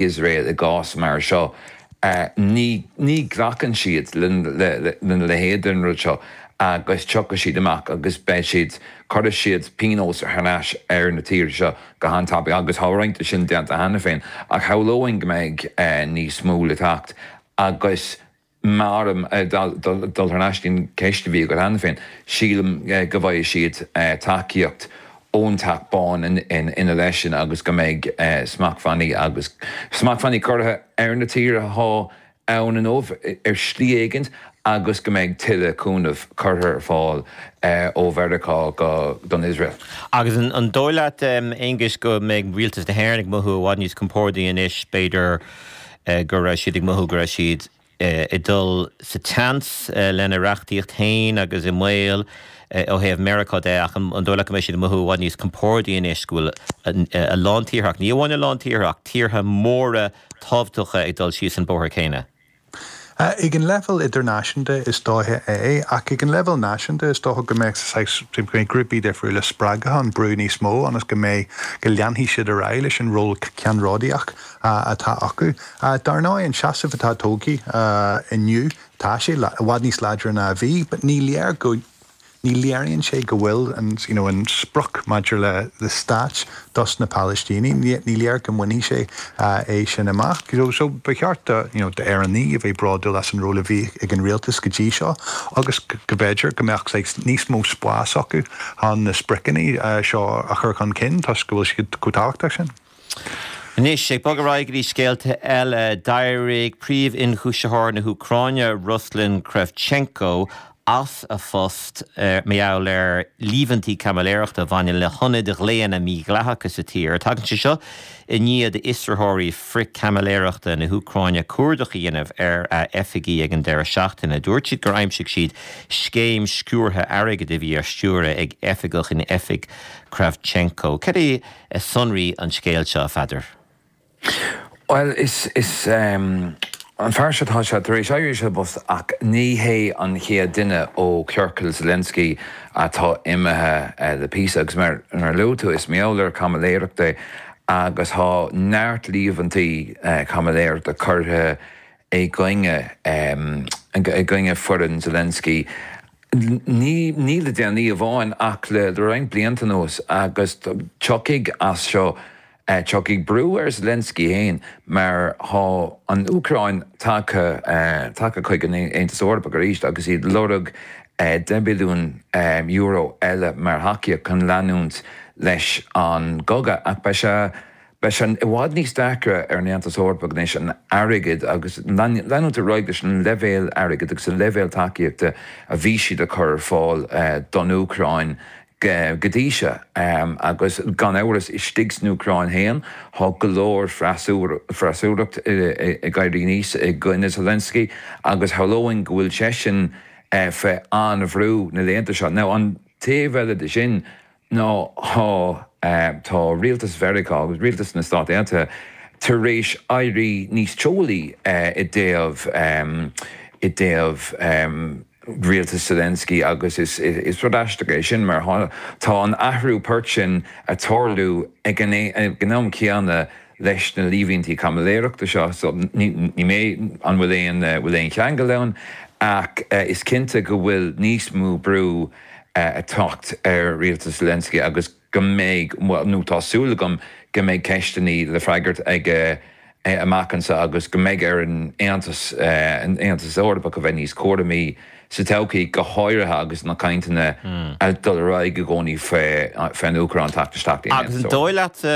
Iosrael i gcás mar seo. Ní ní ghlacann siad lena leithéid den rud seo agus tiocfaidh siad amach agus beidh siad, cuirfidh siad pionós thar n-ais ar na tíortha seo go han-tapaidh agus tá roinnt de sin déanta cheana féin ach shamhlóinn go mbeidh níos mó le teacht agus Mar, dul thar n-ais don cheist a bhí agat cheana féin, sílim go bhfaighidh siad tacaíocht ón Teach Bán ina leith sin agus go mbeidh smachtbhannaí agus smachtbhannaí curtha ar na tíortha atá ann inniu ar shlí éigin agus go mbeidh tuilleadh cúnaimh curtha ar fáil ó Mheiriceá go don Iosrael. Agus an dóigh leat, Aonghus, go mbeidh rialtas na hÉireann ag mothú i bhfad níos compordaí anois, b'fhéidir, go raibh siad ag mothú go raibh siad ag dul sa tseans lena reachtaíocht féin agus i mbaol ó thaobh Meiriceá de ach an dóigh leat go mbeidh siad ag mothú i bhfad níos compordaí anois go bhfuil a lán tíortha, ach ní amháin a lán tíortha ach tíortha móra tábhachtacha ag dul síos an bóthar céanna? Ag an leibhéal idirnáisiúnta is dóiche é, ach ag an leibhéal náisiúnta is dócha go mbeadh saghas, go mbeidh grúpaí difriúla spreagtha an brú níos mó ionas go mbeidh, go leanfaidh siad ar aghaidh leis an ról ceannródaíoch atá acu. Dar ndóigh, an seasamh atá tógtha inniu, tá sé i bhfad níos láidre ná a bhí, but ní léir go, Ní léiríonn sé go bhfuil an, you know, an sprioc maidir le le stát dos na Palaistínigh, ní léir go mbainfidh sé é sin amach. You know, so ba cheart do, you know, d'Éireannaigh a bheith bródúil as an ról a bhí ag an rialtas go dtí seo agus go mb'fhéidir go mbeadh saghas níos mó spáis acu chun na spriocanna seo a chur chun cinn toisc go bhfuil siad chomh tábhachtach sin. Anois, ag bogadh ar aghaidh go dtí scéalta eile, d'éirigh Príomh-Ionchúisitheoir na hÚcráine, Ruslan Kravchenko, as a phost mar gheall ar líomhaintí caimiléireachta a bhaineann le hionaid ghlaonna mídhleathacha sa tír. Tagann sé seo i ndiaidh d'fhiosraitheoirí frith-chaimiléireachta na hÚcráine cuardach a dhéanamh ar a oifigí ag an deireadh seachtaine. Dúirt siad gur aimsigh siad scéim sciúrtha airgid a bhí á stiúradh ag oifigeach in oifig Kravchenko. Cad é sonraí an scéil seo, a Pheadair? Bhuel, is, is, an fear seo, tá sé tar éis éirí as an bpost ach ní hé an chéad duine ó chiorcal Zelensky atá imithe le píosa agus mar a luaigh tú, is mar gheall ar chaimiléireacht é agus tá neart líomhaintí caimiléireachta curtha i gcoinne, i gcoinne foireann Zelensky. Ní, ní le déanaí amháin ach le roinnt blianta anuas agus tiocfaidh as seo, tiocfaidh brú ar Zelensky féin mar tá an Úcráin tagtha, tagtha chuig an Aontas Eorpach arís agus iad ag lorg €10 billiún eile mar thacaíocht chun leanúint leis an gcogadh ach beidh sé, Beidh sé i bhfad níos deacra ar an Aontas Eorpach anois an airgead agus leanúint ar aghaidh leis an leibhéal airgid agus an leibhéal tacaíochta a bhí siad a chur ar fáil don Úcráin go dtí seo. Agus gan amhras istigh san Úcráin féin tá go leor freasúracht ag éirí aníos i gcoinne Zelensky agus shamhlóinn go bhfuil seisean fé an-bhrú na laethanta seo. Now an taobh eile de sin, ná tá tá rialtas Mheiriceá agus rialtas na Stát Aontaithe tar éis éirí níos teolaí i dtaobh i dtaobh rialtas Zelensky agus is is rud aisteach é sin mar tá an athrú poirt sin ag tarlú ag an ag an am céanna leis na líomhaintí caimiléireachta seo so ní ní mé an bhfuil aon bhfuil aon cheangal ann ach is cinnte go bhfuil níos mó brú ag teacht ar rialtas Zelensky agus go mbeidh, bhuel, nó tá súil agam go mbeidh ceisteanna le freagairt aige amach anseo agus go mbeidh ar an Aontas, an Aontas Eorpach a bheith níos cúramaí sa todhchaí, go háirithe agus na cainteanna ag dul ar aghaidh i gcónaí fén Úcráin teacht isteach dtí'n Aontas Eorpach. Agus an dóigh leatsa,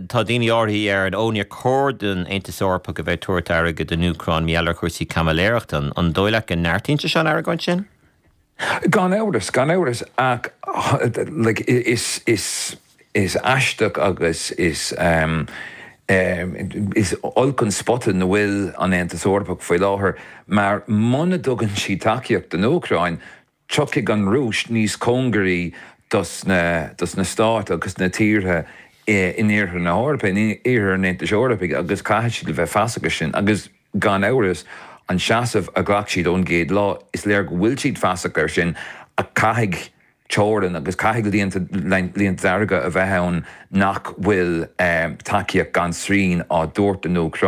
tá daoine áirithe a deireann, ó níor chóir don Aontas Eorpach a bheith ag tabhairt airgead don Úcráin mar gheall ar chúrsaí caimiléireachta, an dóigh leat go neartaíonn sé seo an argóint sin? Gan amhras, gan amhras, ach like is, is, is aisteach agus is is olc an spota ina bhfuil an Aontas Eorpach faoi láthair mar muna dtugann siad tacaíocht don Úcráin, tiocfaidh an Rúis níos cóngaraí dos na, dos na stáit agus na tíortha in iarthar na hEorpa, in iarthar an Aontais Eorpaigh agus caithfidh siad a bheith feasach air sin agus. Gan amhras, an seasamh a ghlac siad ón gcéad lá, is léir go bhfuil siad feasach air sin, ach caithfidh. teorainn agus caithfidh líonta dearga a bheith ann nach bhfuil tacaíocht gan srian á dtabhairt don Úcráin.